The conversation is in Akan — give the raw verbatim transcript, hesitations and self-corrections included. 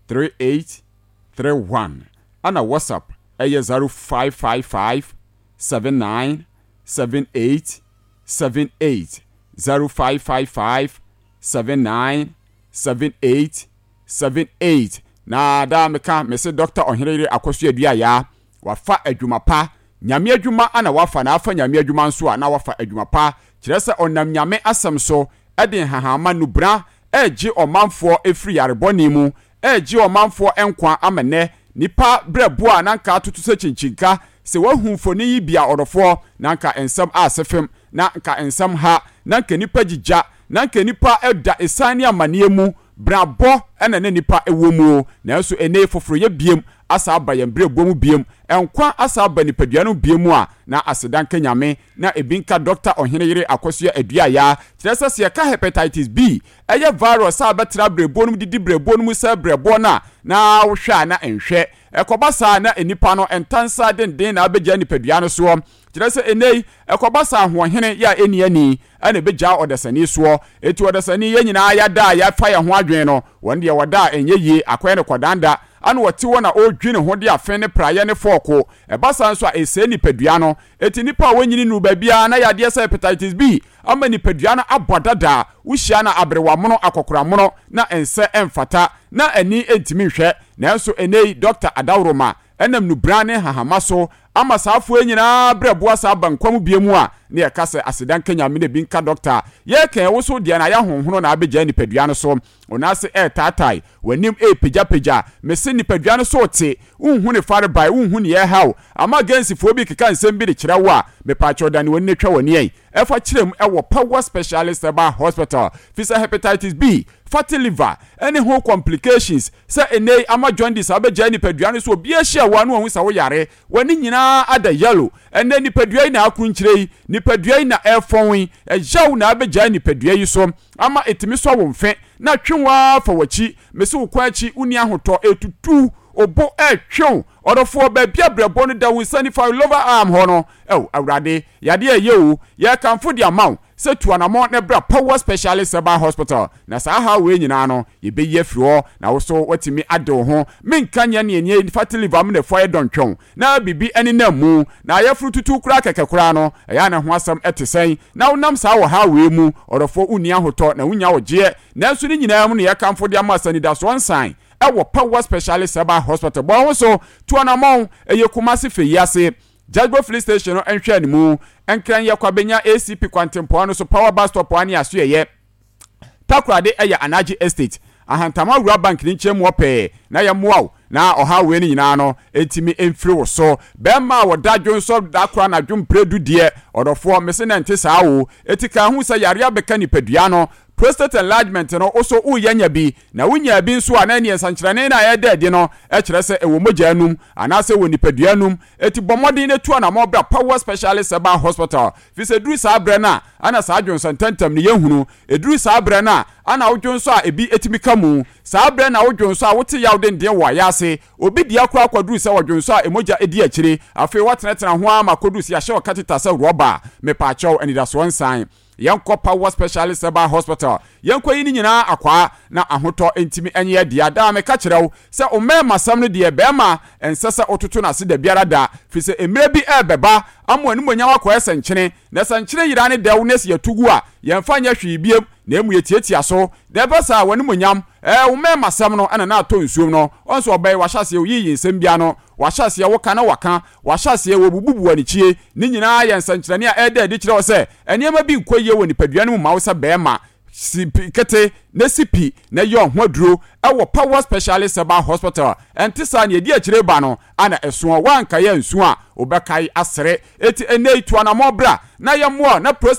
three eight three one ɛna WhatsApp ɛyɛ zero five five five seven nine seven eight seven eight zero five five five seven nine seven eight seven eight. Na daa meka mese Dɔkta Ɔheneyere Akɔso Aduayaa wafa adwuma pa, Nyame adwuma ana wafa, na afa Nyame adwuma nso a na wafa adwuma pa, kyerɛ sɛ ɔnam Nyame asɛm so de nhahamma nubra regye ɔmanfoɔ firi yare bɔne mu, regye ɔmanfoɔ nkwa ama nnɛ nnipa berɛboɔ a na anka atoto sɛ kyinkyinnka. Sɛ woahu mfoni yi bi a, ɔdɔfoɔ, na anka nsɛm ase fem, na anka nsɛm ha, na anka nnipa gyigya, na anka nnipa da esiane ne amaneɛ mu, brabɔ na na nnipa wɔ mu o. Nanso ɛnnɛ yi foforoyɛ biem asa aba yɛn berɛboɔ mu biem, nkwa asa aba nipadua no mu biem a, na aseda nka Nyame, na ebi nka Dɔkta Ɔheneyere Akosua Aduayaa. Kyerɛ sɛ, sɛ yɛka Hepatitis B, ɛyɛ virus a bɛtra berɛboɔ no mu didi berɛboɔ no mu sɛe berɛboɔ no a, na wohwɛ a na ɛnhwɛ. Ɛkɔba saa a, na nnipa no ntansa denden na abɛgyaa nipadua no soɔ. Kyerɛ sɛ, ɛnnɛ yi, ɛkɔba saa a, ahoɔhene yɛ a ɛnni ani na ɛbɛgyaa ɔdasani soɔ. Enti ɔdasani, yɛn nyinaa yɛada a yɛafa yɛn ho adwene no, wɔn deɛ wɔda a ɛnyɛ yie, akɔyɛ no kɔdanda. Ana ɔte hɔ na ɔredwi ne ho de afe ne praeɛ ne fɔɔko. Ɛba saa nso a, ɛsɛe nipadua no. Enti nnipa a wɔnyini nnuru baabiara na yadeɛ sɛ hepatitis B ama nipadua no abɔ dada. Wohyia no a, aberewa mono, akɔkora mono, na ɛnsɛ ɛmfata, na ani ntumi nhwɛ. Nanso ɛnnɛ yi, Dɔkta Adaworoma nam nnubran ne nhahamma so ama saa afoa yi nyinaa berɛboa saa aba nkwa mu bio mu a, na yɛka sɛ aseda nka Nyame na ebi nka dɔkta a yɛreka yi, wo so deɛ na ayɛ ahonhono na abɛgyaa nipadua no so, wo nan ase ɛretaatae, w'anim ɛrepagyapagya, mese nipadua no so rete, wonhu ne farebae, wonhu nea ɛreha wo, ama Gensifoɔ bi rekeka nsɛm bi de kyerɛ wo a, mepaakyɛw dane w'ani na twa w'ani ɛ, ɛfa kyerɛ mu ɛwɔ Power Specialist Herbal Hospital, fisɛ Hepatitis B, fatty liver, ɛne ho complications, sɛ ɛnnɛ yi ama jaundice abɛgyaa nipadua no so, obiara hyia wo a na wahu sɛ woyare, W'ani nyinaa ada yellow. Ɛnnɛ nipadua yi na akrunkyire yi, nipadua yi na ɛrefɔn yi, ɛyaw na abɛgyae nipadua yi so ama ɛtumi sɔ wo mfe na twe wo ara fa w'akyi. Mese wo kwan akyi, wonni ahotɔ, ɛretutu wo bo, ɛretwe wo. Ɔdɔfoɔ, baabi a brɛboɔ no da, wo nsa nifa, lover arm hɔ no, ao Awurade, yadeɛ a ɛyɛ o, yɛrekamfo de ama wo. Sɛ tu anamɔn na bra Power Specialist Herbal Hospital na saa haw wei nyinaa no yɛbɛyi afiri hɔ na wo so woatumi ade wo ho. Menka nyɛ neɛ neɛ fatty liver amena fua yɛ dɔntwɛn na biribi nenam mu na ayɛforo tutu koraa kɛkɛ koraa no ɛyɛ a na ho asɛm te sɛn na wonam saa ɔhaw wei mu ɔdɔfoɔ wonni ahotɔ na wonnya ɔgyeɛ nanso ne nyinaa mu no yɛkamfo de ama sɛ anidasoɔ nsan wɔ Power Specialist Herbal Hospital. Bɔ wo ho so tu anamɔn ɛyɛ Kumasi Fei ase Jajbo Filling Station no nhwɛanimu, Nkran yɛ Kwabenya A C P kwantempɔn no so Power Bus Stop ne asoɛeɛ. Takoradi yɛ Anagye Estate, Ahantama Rural Bank no nkyɛn mu hɔ pɛɛ na yɛmmoa wo na ɔhaw wei no nyinaa no ntumi mfiri wo so. Bɛrima a ɔda dwonsɔ da koro anadwo mprɛdu deɛ, ɔdɔfoɔ, mese na ɛnte saa o. Eti ka ho sɛ yareɛ abɛka nipadua no. Prostate enlargement no, wo so woreyɛ anya bi, na wonyaa bi nso a, na ɛneɛ nsankyerɛnne no a ɛreda adi no kyerɛ sɛ ɛwɔ mogya no mu anaasɛ ɛwɔ nipadua no mu. Enti bɔ mmɔden na tu anammɔn bra Power Specialist Herbal Hospital, firi sɛ ɛduru saa berɛ no a, ana saa dwonsɔ ntɛmntɛm no yɛnhunu. Ɛduru saa berɛ no a, ana wo dwonsɔ a ebi tumi ka mu. Saa berɛ na wo dwonsɔ a wote yaw denden wɔ ayaase. Obi dea koraa kɔduru sɛ ɔdwonsɔ a mogya di akyire. Afei woatenatena ho ara ma kɔduru sɛ yɛahyɛ wo catheter sɛ rɔba. Mepaakyɛw, anidasoɔ nsan. Yɛnkɔ Power Specialist Herbal Hospital, yɛnkɔyi ne nyinaa akwaa na ahotɔ ntumi nyɛ dea. Daa meka kyerɛ wo sɛ wo mmarimasɛm no deɛ, barima ɛnsɛ sɛ wototo no ase dabiara da, firi sɛ mmerɛ bi rebɛba ama w'animuonyam akɔyɛ sɛ nkyene, na sɛ nkyene yera ne dɛw na sɛ yɛto gu a, yɛmfa nyɛ hwee biom, na mmom yɛtiatia so. Na ɛba saa a, w'animuonyam, ɛɛ, wo mmarimasɛm no na na atɔ nsuom no. Ɔn sɛ ɔbɛn, wahyɛ aseɛ, woyiyi nsɛm bi ano, wahyɛ aseɛ, woka na waka, wahyɛ aseɛ, wɔbububu w'anikyie. Ne nyinaa yɛ nsɛnkyerɛnne a ɛreda adi kyerɛ wo sɛ nneɛma bi nkɔ yie wɔ nipadua no mu ma wo sɛ barima. Si pi kete na si pi na yɛ ɔho aduro wɔ Power Specialist Herbal Hospital. Ɛnte saa, nea ɛdi akyire reba no ana ɛsoɔ. Woankae ansu a, wobɛkae asere. Enti ɛnnɛ yi, tu anammɔn bra na yɛmmoa wo na prostate